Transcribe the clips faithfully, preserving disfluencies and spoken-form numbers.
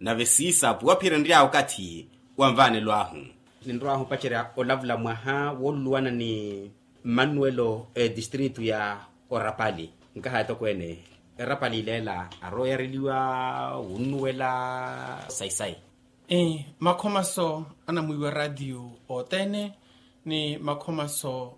Nave siisapu waphiyerya nry'awe okathi wa nvaanelo ahu. Ninrw'ahu opacerya olavula mwaha wooluluwana ni mmanuwelo etistritu ya orapali. Nkaha etokweene erapali ileela arooyareliwa wunnuwela sayi-sayi. Makhomaso anamwiiwa raatiyo othene ni makhomaso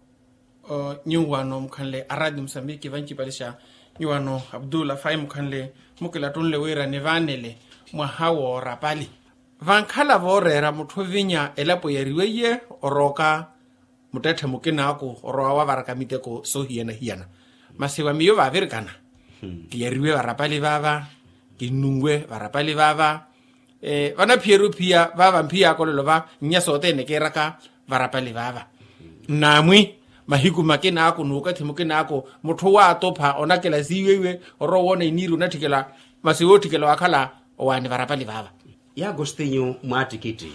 nyuwano mukhanle araati musambiki vancipalixa nyuwano abdul afai mukhanle mukilattunle wira nivaanele mwaha woorapali. Vankhala vooreera mutthu ovinya elapo yariweiye orooka muttetthe mukinaaku orowa wavaraka miteko soohiyana-hiyana. Masi va miyo vaavirikana kiyariwe varapali vaava kinnunwe varapali vaava. Vanaphiyeryo phiya vaava mphiyaka olelo va nnya sothene kiiraka varapali vaava. Nnaamwi mahiku makinaaku n'ukathi mukinaaku mutthu waatupha onakela siiweiwe orowa owoona iniiri onatthikela masi wootthikela waakhala owaani varapali vaava. Y'agostinyu mwaattikitthi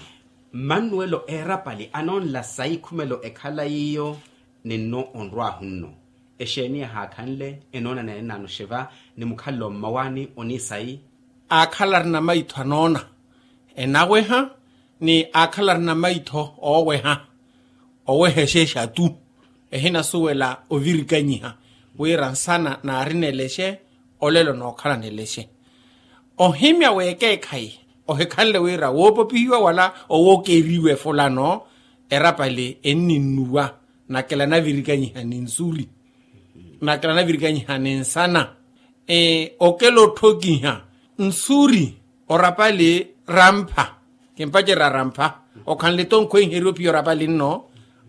mmanuwelo eerapali anoonla sayi khumelo ekhala yiiyo. Ninno onrw'ahu nno exeeni yahaakhanle enoona neenaano xeva ni mukhalelo mmawaani oniisayi. Aakhala arina maitho anoona enaweha ni aakhala arina maitho ooweha oweha exeexatu ehinasuwela ovirikanyiha wira nsana naarinelexe olelo nookhalanelexe. Ohimya w'ekeekhayi ohikhanle wira woopopihiwa wala owookeriwa efulano erapali enninnuwa nakela navirikanyiha ni nsuri nakela navirikanyiha ni nsana. Okela otthokiha nsuri orapali rampha kimpacerya rampha okhanle-to nkhweiheryo phiya orapali nno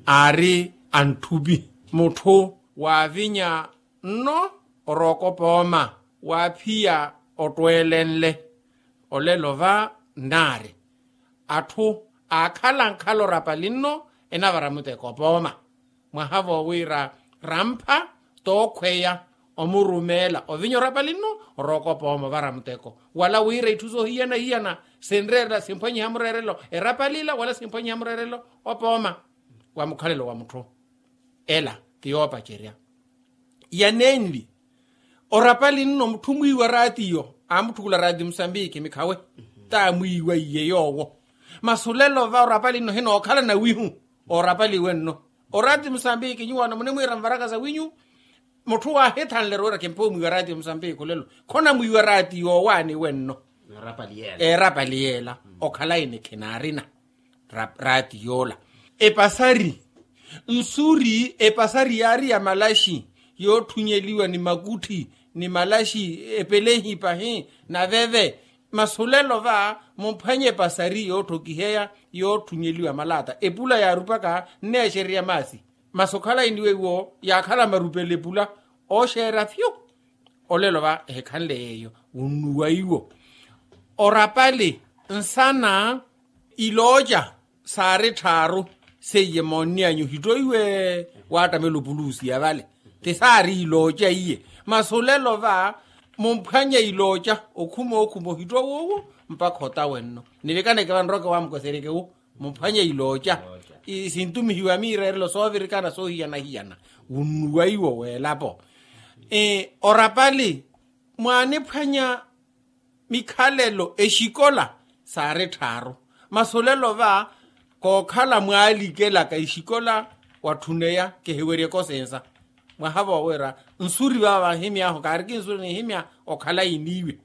aari antthupi mutthu waavinya nno orookopa ooma waaphiya ottweelenle olelo va nnaari atthu aakhala nkhala orapali nno enavara muteko opooma mwaha voowiira rampha tookhweya omurumeela ovinya orapali nno orookopa ooma ovara muteko wala wira itthu soohiyana-hiyana sinreerela simphwanyiha mureerelo erapali ila wala simphwanyiha mureerelo opooma wa mukhalelo wa mutthu. Ela ti yoopacerya ya nenli orapali nno mutthu mwiiwa raatiyo aamutthukula raati musambiki mikhawe taamwiiwa iye yoowo. Masi olelo va orapali nno hinookhala nawihu orapali wenno oraati musambiki nyuwano munimwiira mvaraka sawinyu mutthu waahithanlera wira kimpa omwiiwa raati musambiki olelo khonamwiiwa raati yoowaani wenno. Erapali yeela okhala ini khinaarina raati yoola. Epasari nsuri epasari yaari ya malaxi yootthunyeliwa ni makutthi ni malaxi epelehi pahi naveve. Masi olelo va mumphwanye epasari yootthokiheya yootthunyeliwa malaata epula yaarupaka nneexererya maasi. Masi okhala iniwe iwo yaakhala marupele epula ooxeera fyu. Olelo va ehikhanle yeeyo wunnuwa iwo orapali nsana ilooca saari tthaaru seiye moonniyanyu ohittoiwe waattamela opuluusiya vale ti saari ilooca iye. Masi olelo va mumphwanye ilooca okhuma okhuma ohittowa owo mpakha otawenno nivikaneke vanroke wamukoseryeke wu mumphwanye ilooca sintumihiwa miireerelo soovirikana soohiyana-hiyana wunnuwa iwo weelapo. Orapali mwaaniphwanya mikhalelo exikola saari tthaaru masi olelo va kookhala mwaalikelaka exikola watthuneya kihiweryeke osensa mwaha voowiira nsuri vaava vahimy'ahu kaariki nsuri nihimya okhala iniiwe.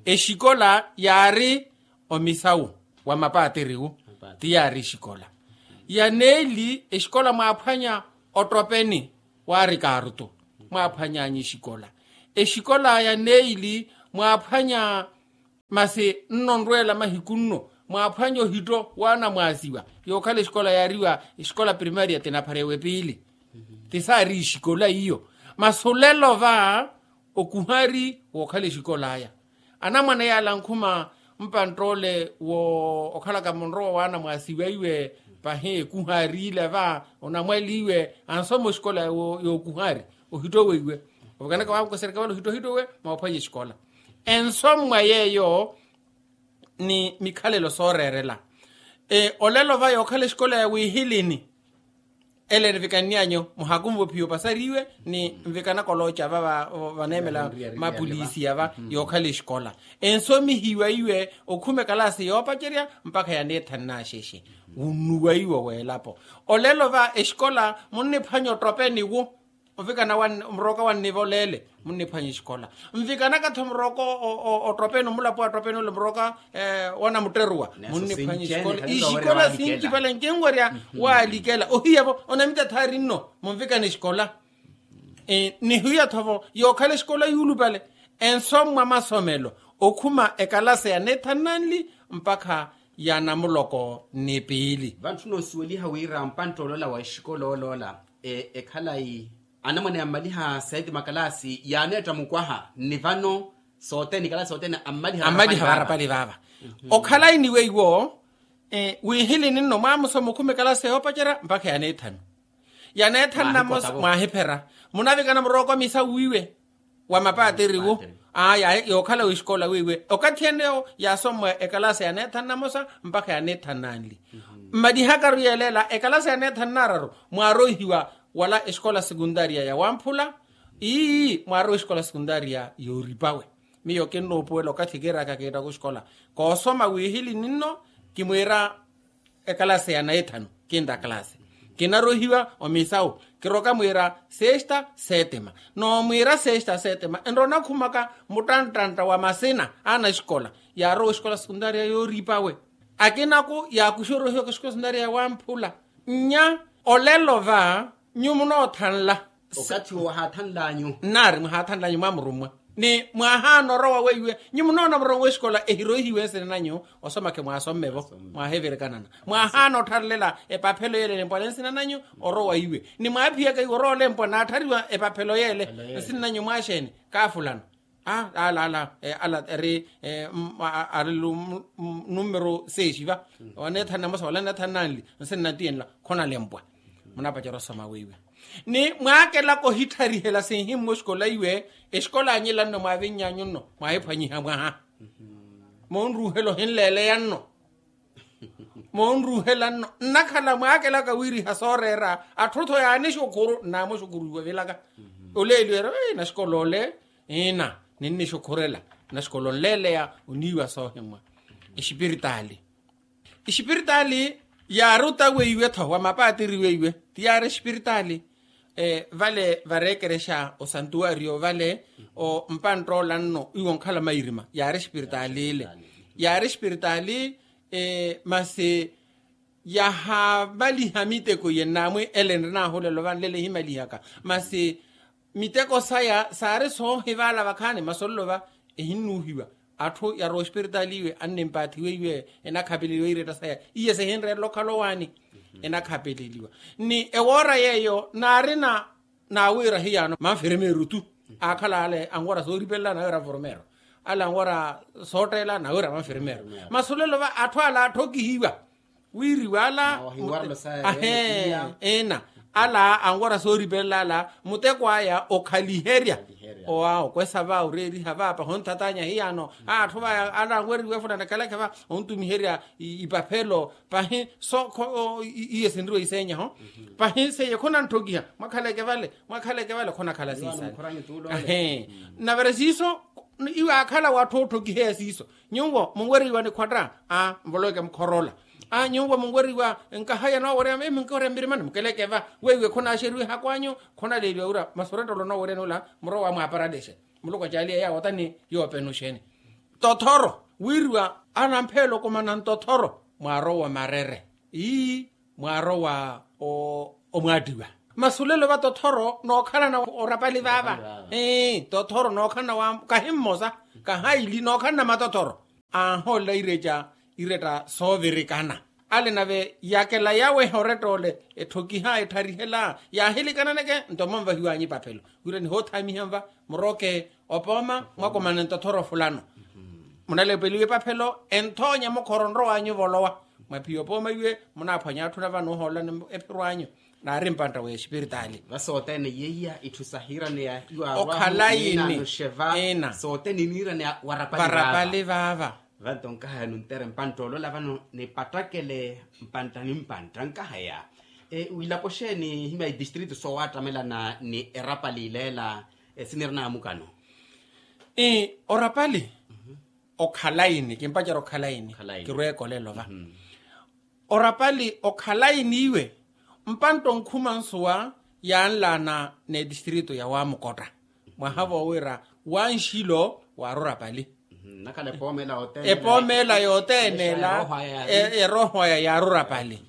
Exikola yaari omisawu wa mapaatiriwu ti yaari exikola ya neeli exikola mwaaphwanya ottopeni waari kaarutu mwaaphwany'anyu exikola exikola ya neeli mwaaphwanya masi nno nrweela mahiku nno mwaaphwanya ohitto waanamwaasiwa yookhala exikola yaariwa exikola primaria tinaphara ewepiili ti saari exikola iyo. Masi olelo va okuhari wookhala exikola aya anamwane yaala ankhuma mpantt'ole wo okhalaka munrowa waanamwaasiwa iwe pahi ekuhari ile va onamwali iwe ansoma oxikola yookuhari ohitto weiwe ovikanaka waamukoseryaka vale ohitto ohitto we mwaaphwanya exikola ensomwa yeeyo ni mikhalelo sooreerela. Olelo va yookhala exikola ya wihilini Ele nvikanny'anyu muhakunve ophiya opasariwe ni nvikanaka olooca va vaneemela mapolisi yava yookhala exikola. Ensomihiwa iwe okhuma ekalaasi yoopacerya mpakha yaneethanna axexe. Wunnuwa iwe weelapo olelo va exikola munniphwanya ottopeni wu. Ovikana murooka wannivoleele munniphwanya exikola. Nvikanaka-tho murooka ottopeni omulapo wa ottopeni ole murooka wanamutteruwa. Munniphwanya exikola ixikola sincipale nkinwerya. Waalikela ohiya-vo onamita thaari nno munvikana exikola. Nihiya-tho-vo yookhala exikola yuulupale ensommwa masomelo okhuma ekalasi ya neethanu nanli mpakha ya namuloko ni piili. Vantthuna osuweliha wira mpantta oloola wa exikola oloola ekhalayi anamwane yammaliha seeti makalaasi yaaneetta mukwaha nni vano sothene ikalaasi sothene ammaliha. Ammaliha varapali vaava okhalayi ni weiwo. Wiihilini nno mwaamusoma okhuma ekalaasi yoopacerya mpakha ya neethanu ya neethanu namosa mwaahiphera munavikana murooka omisa wiiwe wa mapatiriwu. Aya yookhala wixikola wiiwe okathi ene yaasommwa ekalaasi ya neethanu namosa mpakha ya neethanu nanli. Mmalihakaru yeeleela ekalaasi ya neethanu naararu mwaaroihiwa wala exikola sekuntaria ya wamphula. Ii mwaarowa exikola sekuntaria yooripawe. Miyo kinnoopuwela okathi kiiraka kiittaka oxikola koosoma wiihilini nno kimwiira ekalasi ya neethanu kinta kalasi kinarohiwa omisawu kiroka mwiira sesta setima. Noomwiira sesta setima enrowa onakhumaka muttanttanta wa masina a naxikola yaarowa oxikola sekuntaria yooripawe. Akinaku yaakuxa orohiwaka oxikola sekuntaria ya wamphula. Nnya olelo va nyu munoothanla okathi owo wahaathanlanyu nnaari mwahaathanlanyu mwamurummwa ni mwahaana orowa weiwe nyu munoona murowa w'exikola ehiroihiwe nsina nanyu. Osomake mwaasomme-vo mwaaheverekanana mwahaana ottharlela epaphelo yeele elempwana nsina nanyu orowa iwe ni mwaaphiyaka iwe orowa olempwa naatthariwa epaphelo yeele nsina nanyu mwaaxeeni kaafulano. Ala ala ala eri ari numero sexi va waneethani namosa wala neethani nanli nsi nnatiyenla khonalempwa. Munapacerya osoma weiwe ni mwaakelaka ohitthariherya sinhimmwa exikola iwe exikola anyila nno mwaavinnyanyu nno mwaahiphwanyiha mwaha. Moonruuhela ohinleeleya nno moonruuhela nno nnakhala mwaakelaka wiiriha sooreera atthu-tho yaanixukhuru nnaamuxukhuruiwa vilaka. Oleeliwa eri naxikola ole ina ninnixukhurela naxikola onleeleya oniiwa soohimwa exipiritaali. Exipiritaali yaari ota weiwe-tho wa mapatiri weiwe ti yaari exipiritaali. Vale vareekerexa osantuwariyo vale o mpanttoola nno iwo onkhala mairima yaari exipiritaali ile yaari exipiritaali. Masi yahamaliha miteko iye nnaamwi ele nri naahulela ovanlela ehimalihaka masi miteko saya saari soohivaala vakhaani masi olelo va ehinnuuhiwa. Atthu yarowa ospiritaali iwe annimpaathiwa iwe enakhapeleliwa iiretta saya iye sihinreerela okhala owaani enakhapeleliwa. Ni ewoora yeeyo naarina naawiira hiyaano manfirmeeru tu aakhala ale anwara sooripelelana awiira anfirmeeru ale anwara sootteelana awiira manfirmeeru. Masi olelo va atthu ala atthokihiwa wiiriwa ala eena ala anwara sooripelela ala muteko aya okhaliherya owa okwesa va oreeriha va pahi onthatanya hiyaano. Atthu vaya ala anweriwa efulana ekhaleke va ontumiherya ipaphelo pahi so iye sinriwa isenyaho pahi seiye khonantthokiha mwakhaleke vale mwakhaleke vale khonakhala siisale. Navira siiso iwe aakhala watthu ootthokiheya siiso nyuwo munweriwa nikhwatta a nvoloweke mukhoroola. A nyuwo munweriwa nkaha ya noowerya imi nkiwerya mmirimani mukeleke va weiwe khonaaxeriwa ehakwanyu khonaleeliwa wira masi orettelo noowerya nula murowa mwaaparalexe muluku acaaliye yaawo ota ni yoopenuxeni. Tothoro wiiriwa anampheelo okumana ntothoro mwaarowa marere ii mwaarowa omwaattiwa. Masi olelo va tothoro nookhalana orapali vaava. Tothoro nookhalana wa kahi mmosa kahaili nookhalana matothoro. Anhoolela ireca iretta soovirikana ale nave yakela yaweha oretta ole etthokihaya ettharihelaya yaahilikananeke nto monvahiwanyu ipaphelo wira nihoothaamiha nva muroke opooma mwakomane ntothoro fulano. Munalepeliwa epaphelo enthoonya mukhoro nrowanyu volowa mwaphiya opooma iwe munaaphwanya atthu nava noohoolelani ephiro anyu. Naari mpantta w'exipiritaali. Vasothene yeiya itthu sahiiraneya iwarwamu okhalayi ni ina sothene iniiraneya warapali vaava. Vanto nkahaya nuntere mpantta olola vano nipattakele mpantta ni mpantta nkahaya. Wiilapo xeeni ihimya itistritu soowattamelana ni erapali ileela? Sinirina amukano. Orapali okhalaini kimpacerya okhalaini. Kirweekolela ova orapali okhalaini iwe mpantta onkhuma nsuwa yaanlaana n'etistritu ya wamukotta mwaha voowira wanxilo waari orapali. Epooma ela yothene ela erooho aya yaari orapali.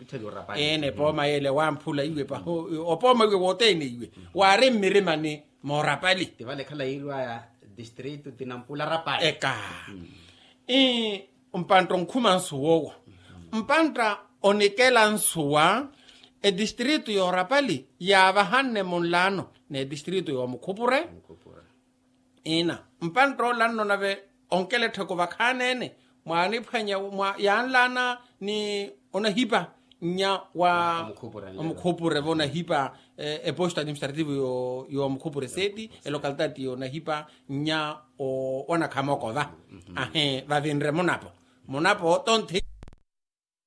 Eena epooma yele wamphula iwe paho opooma iwe wothene iwe waari mmirimani moorapali. Tivale khala yiiriwaya distritu tinampula rapali eka. Mpantta onkhuma nsuwa owo mpantta onikela nsuwa etistritu yoorapali yaavahanne munlaano n'etistritu yoomukhupure. Ina mpantta olanno nave onkela ettheku vakhaneene mwaaniphwanya yaanlaana ni onahipa nnya wa omukhupure vonahipa eposto administrativo yoomukhupure seti elocalitati yoonahipa nnya wanakhamoko va. Ahe vavinre munapo munapo tonthe